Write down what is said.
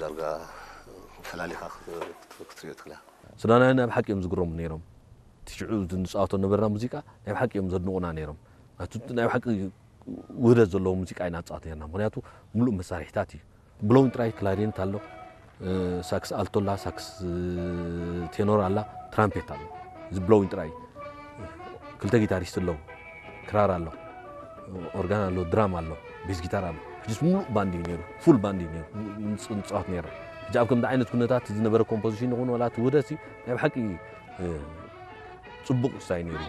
ዳርጋ ፈላሊኻ ክትሪኦ ትኽእል። ሱዳናውያን ናይ ብሓቂ እዮም ዝግረሙ ነይሮም። እቲ ሽዑ ንፃወቶ ነበርና ሙዚቃ ናይ ብሓቂ እዮም ዘድንቑና ነይሮም። ናቱ ናይ ብሓቂ ውህደት ዘለዎ ሙዚቃ ኢና ንፃወት ነርና፣ ምክንያቱ ምሉእ መሳርሒታት እዩ። ብሎዊን ጥራይ ክላሪኔት ኣሎ፣ ሳክስ ኣልቶ ኣላ፣ ሳክስ ቴኖር ኣላ፣ ትራምፔት ኣሎ። እዚ ብሎዊን ጥራይ እዩ። ክልተ ጊታሪስት ኣለዉ፣ ክራር ኣሎ፣ ኦርጋን ኣሎ፣ ድራም ኣሎ፣ ቤዝ ጊታር ኣሎ። ሕጂስ ምሉእ ባንድ እዩ ነይሩ፣ ፉል ባንድ እዩ ነይሩ ንፃወት ነርና። ሕጂ ኣብ ከምዚ ዓይነት ኩነታት ዝነበረ ኮምፖዚሽን ይኹን ዋላ እቲ ውህደት ናይ ብሓቂ ፅቡቕ ስታይ ነይሩ።